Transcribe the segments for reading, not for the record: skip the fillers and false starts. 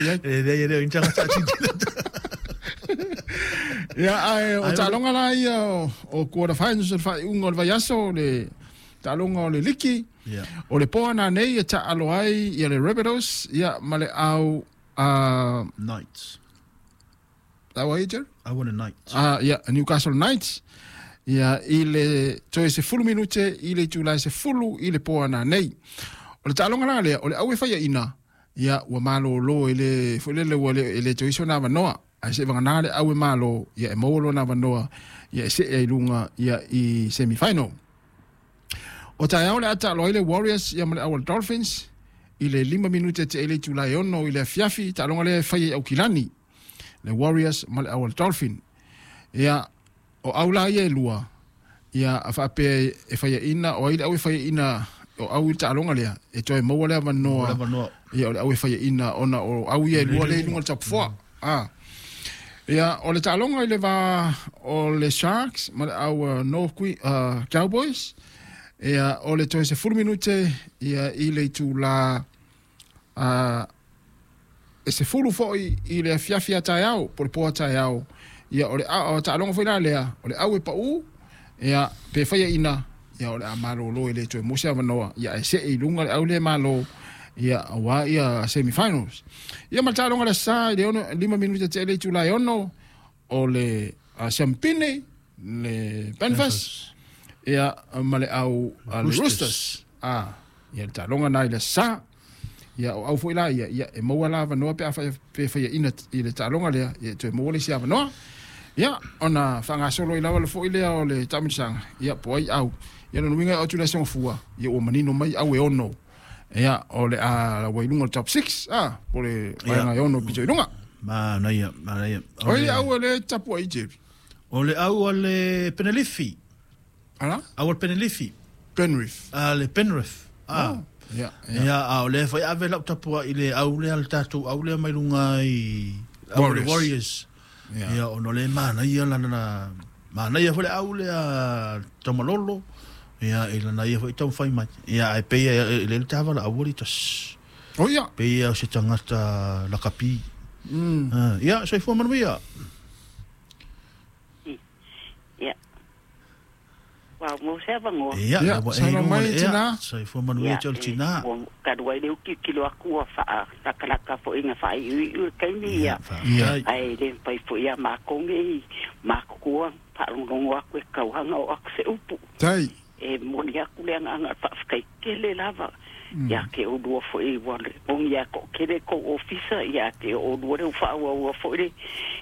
E le le inta sa ti. Ia ae o taaloga la ia o quarter finals o le faaiuga o le vaiaso le taaloga o le liki. O le poa nanei e taalo ai ia le Rabbitohs ia ma le au Knights. Au ai, Jerry? Au le Knights. Ah, ia, Newcastle Knights. Ia, i le toe 10 minute i le itulā e 10 i le po ananei. O le taaloga la lea, o le au e faiaina, ia, ua malōlō e le, foi lele ua le, e le toe iso na avanoa. Ae se vagana le au e malo, ia e maua lona avanoa, ia e see ai luga, ia i semi-final. O taeao le a taalo ai le Warriors ia ma le au Dolphins i le 5 minute te le itulā e 6 i le afiafi, taaloga lea e fai ai Aukilani. Le Warriors ma le au Dolphin. Ia, o au la ia e lua, ia a faapea e faiaina, o ai le au e faiaina, o au i le taaloga lea, e toe maua le avanoa, Le avanoa. Ia o le au e faiaina, ona o au ia e lua le i luga o le top 4. Ah. Ia, o le taaloga i le va o le Sharks ma le au North Queen, Cowboys, ia, o le toe 10 minute ia i le itulā e 10 foi i le afiafi a taeao, po le po a taeao. Ia, o le o taaloga foi la lea, o le au e pau, ia, pe faiaina, ia o le a malōlō e le toe maua se avanoa, ia e see i luga le au le malo, ia auā ia semifinals. Ia ma le taaloga le sa i le 6, 5 minute te le itulā e 6, o le Siampine, le Panthers, ia ma le au le Roosters. Roosters. Ah, ia le taaloga na i le sa. Ia o au foi la ia, ia e maua la avanoa pe a fai pe faiaina i le taaloga lea, ia e toe maua le isi avanoa. Ia, ona faagasolo i lava le foi lea o le taamilosaga, ia po ai au. Ia lona uiga e oo atu le aso Gafua, ia ua manino mai au e 6. Ia, o le a ua i luga o le top 6, ah, po le vaega e 6 pito i luga. Manaia, manaia. O ai au e le tapu ai, Jerry? O le au a le Penelifi. Ala? Au a le Penelifi. Penrith. A le Penrith. Ah. Oh, ia, ia. Ia, a o le foi ave lau tapua i le au lea le tatou au lea mai luga i au le Warriors. Warriors. Ia. Ia, ono le manaia lana na manaia foi le au lea Taumalolo. Ia, i lana ia foi taumafai mai. Ia, ai pei e le tavala au li tas. O ia. Pei o se tagata lakapi. Ah, ia, soifua manuia. Ia. Wow, mo se avanoa. Ia, Ia, ua e saunoa luga mai, le ea. tina. Soifua manuia te o le tina. Ua talu ai le uki kilo aku ua faa lakalaka foi nga faa iu iu le kaimi ia. Faafetai. Ai le mafai foi ia makou nei makukua faalogologo aku e kauhaga o aku se upu. Tai. E moni aku le agaga faafetai tele lava. Ia ke oulua foi ua le ogi a toʻatele kou ofisa ia te oulua le ufaaauaua foi le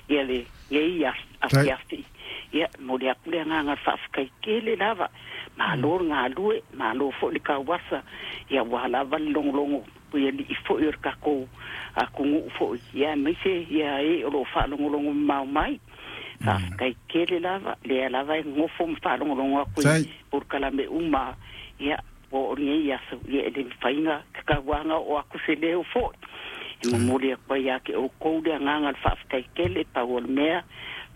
ia le nei afiafi. Ia moli aku le agaga faafetai tele lava. Malo le galue, malo foi le kauasa. Ia ua lava le logologo ia alii foi o le takou atunuu foi. Ia aemaise ia e o loo faalogologo mamao mai. Faafetai tele lava, lea lava e gofo ma faalogologo aku i Tai. polokalame uma. Ia po o lenei aso, ia e le mafaiga tatauaga oo aku se leo foi. E momoli aku ai ia te oukou le agaga le faafetai tele pau o le mea.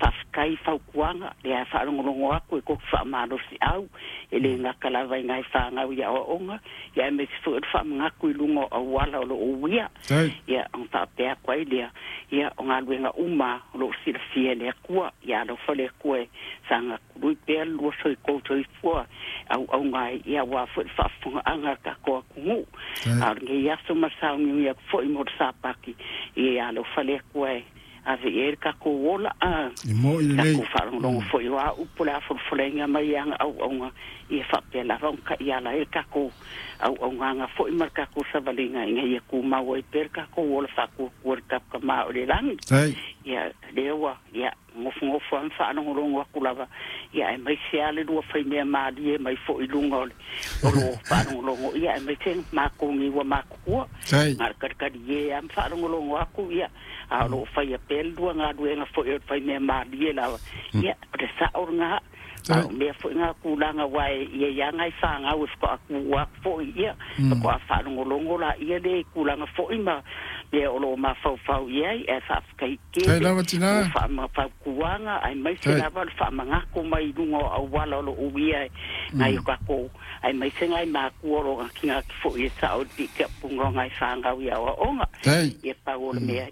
Faafetai fautuaga lea e faalogologo aku e koki faamalosiau e le gata lava i nai fagau i aoaoga ia aemaise foi o le faamanatu i luga o auala o loo uia. Tai. Ia ona faapea atu ai lea, ia o galuega uma o loo silafia e le Atua. Ia alofa le Atua e sagatului pea le lua soikou soifua auauga ai ia auā foi le faafofogaaga a le tatou atunuu. Tai. A o lenei aso ma le sauniuni atu foi mo le Sapati, ia alofa le Atua e ave i ai le tatou ola a E mo i lelei. tatou faalogologo foi o a upu le afolafolaina mai aga auauga ia faapea lava ona taʻiala ai le tatou auaugaga foi ma le tatou savaliga ina ia tumau ai pea le tatou ola faatuatua le tatou o le lagi. Tai. Ia lea ua ia gofogofo a ma faalogologo atu lava ia aemaise a le lua faimea malie mai foi luga o le o lo faalogologo ia aemaise makou nei ua matutua. Tai. Na le kalikali e a ma faalogologo aku ia a o loo faia pea le lua galuega foi o le faimea malie lava ia o le sao lagā. Tai. A o mea foi ngā kūlanga wa e ia ia ngai whāngau e whakaku aku foi ia mm. whaalongolongo la ia le kūlanga foi ma mea o lo mawhauwhau ia e whaafetai Tai tele lava tina. o whaamawhaukuanga ai mai se Tai. lava le whaamangako mai lunga o auala o lo uia e ngai o kako ai mai se ngai mākua o lo ngā ki ngā ki foi e sao di kia punga o ngai whāngau ia o onga Tai. ia pau o le mea.